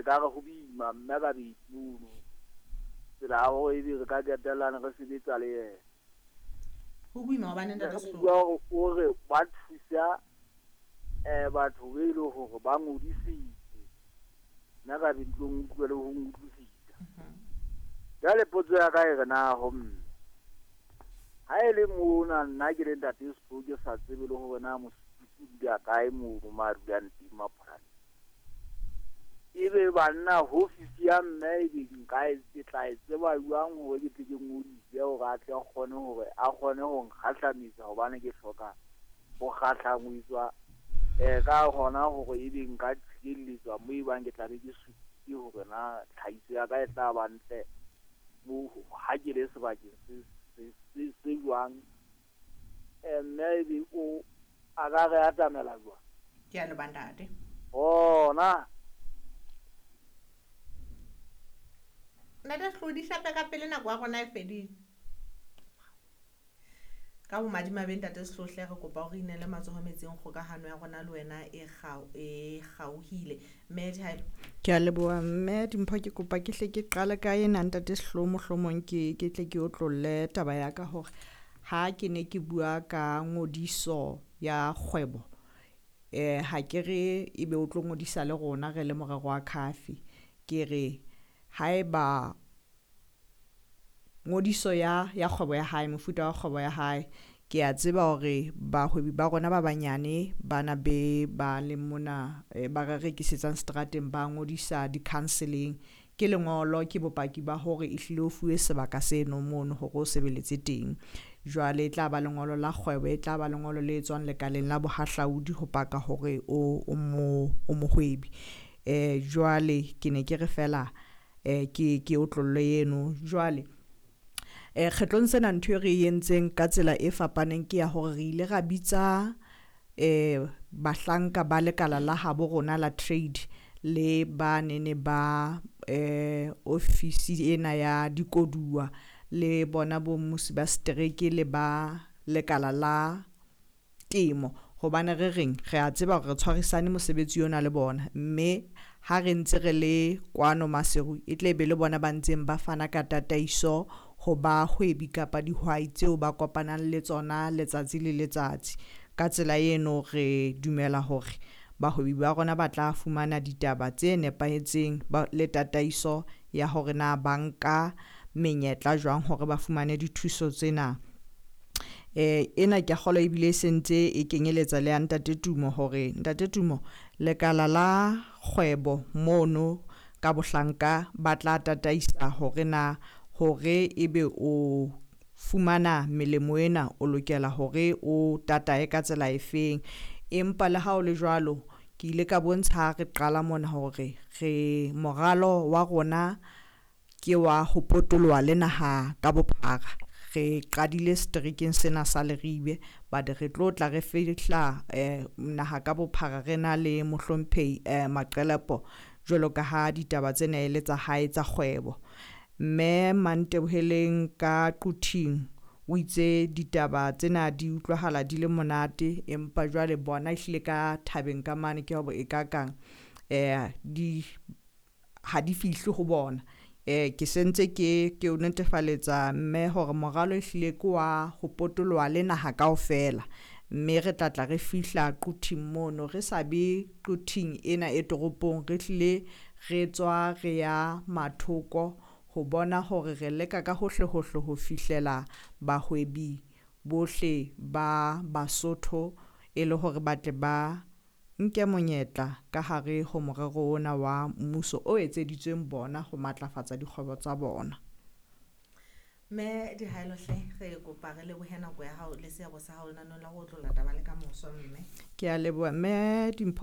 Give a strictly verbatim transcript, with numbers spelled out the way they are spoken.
Ekare ho boima mme ka bedi mono. Tsela ya hore ebe re ka qetellana re sebetsa le yena. Ho boima hobane ntate Re Sehloho. bua hore o re ba thusa eh batho be le hore ba ngodisitse. Nna ka be di tlo nkutlwa le ho nkutlwisisa. Jwale potso ya ka e re na ho mme. Ha e le mona nna ke le ntate Sehloho ke sa tsebe le hore na mosupisi o dula kae mono mo a dulang teng Mapolane. Ebe banna ofisi ya mme ebe nka e ke tla e tseba jwang hore ke tle ke ngodise hore a tle a kgone hore a kgone ho nkgahlamisa hobane ke hloka ho kgahlangwetswa eh ka hona hore ebe nka tshireletswa mo ebang ke tla be ke supile hore na tlhahiso ya ka e tla ba ntle mo ha ke le sebakeng se se se se jwang. Eh mme ebe o a ka re atamela jwang? Ke a leboha ntate. Bona. Ntate Sehloho di hlape ka pele nako ya rona e fedile. Ka bomadimabe ntate Sehloho hle re kopa hore inele matsoho metsing kgokahano ya rona le wena e kgao e kgaohile. Mme Dihaelo. Ke a leboha mme Dimpho, ke kopa ke hle ke qale ka ena ntate Sehloho, mohlomong ke ke tle ke otlolle taba ya ka hore ha ke ne ke bua ka ngodiso ya kgwebo eh ha ke re ebe o tlo ngodisa le rona re le morero wa khafi. Ke re haeba ngodiso ya ya kgwebo ya hae, mofuta wa kgwebo ya hae, ke a tseba hore bahwebi ba rona ba banyane bana be ba le mona eh, ba re rekisetsang seterateng ba ngodisa di-counseling. Ke lengolo, ke bopaki ba hore ehlile o fuwe sebaka seno mono hore o sebeletse teng. Jwale e tla ba lengolo la kgwebo, e tla ba lengolo le tswang lekaleng la bohahlaudi ho paka hore o o mo o mohwebi. Eh jwale ke ne ke re fela eh ke ke otlolle eno. Jwale eh kgetlong sena ntho e re e entseng ka tsela e fapaneng ke ya hore re ile ra bitsa eh bahlanka ba lekala la habo rona la trade le ba nene ba eh ofisi ena ya dikoduwa le bona bo mmusi ba setereke le ba lekala la temo. Hobane re reng re a tseba hore re tshwarisane mosebetsi ona le bona, mme ha re ntse re le kwano Maseru e tle be le bona ba ntseng ba fana ka tataiso ho bahwebi kapa dihwai tseo ba kopanang le tsona letsatsi le letsatsi. Ka tsela eno re dumela hore bahwebi ba rona ba tla fumana ditaba tse nepahetseng le tataiso ya hore na ba nka menyetla jwang hore ba fumane dithuso tsena. Eh ena ke a kgolwa ebile e sentse e kenyeletsa le ya ntate Tumo, hore ntate Tumo lekala la kgwebo mono ka bohlanka ba tla tataisa hore na hore ebe o fumana melemo ena o lokela hore o tatae ka tsela efeng. Empa le ha o le jwalo, ke ile ka bontsha ha re qala mona hore re moralo wa rona ke wa ho potoloha le naha ka bophara. Re qadile seterekeng sena sa Leribe, but re tlo tla re fihla eh naha ka bophara re na le mohlomphehi eh Maqelepo, jwalo ka ha ditaba tsena e le tsa hae tsa kgwebo. Mme Manteboheleng ka Quthing o itse ditaba tsena di utlwahala di le monate, empa jwale bona ehlile ka thabeng ka mane ke hore e ka kang eh di ha di fihle ho bona. Eh ke sentse ke ke o netefaletsa mme hore moralo ehlile ke wa ho potoloha le naha kaofela, mme re tla tla re fihla Quthing mono, re sa be Quthing ena e toropong, re hlile re tswa re ya mathoko ho bona hore re leka ka hohle hohle ho fihlela bahwebi bohle ba Basotho e le hore ba tle ba nke monyetla ka hare ho morero ona wa mmuso o etseditsweng bona ho matlafatsa dikgwebo tsa bona. Mme Dihaelo hle re kopa re lebohe nako ya hao le seabo sa hao lenaneong la ho otlolla taba le ka moso mme. Ke a leboha mme Dimpho.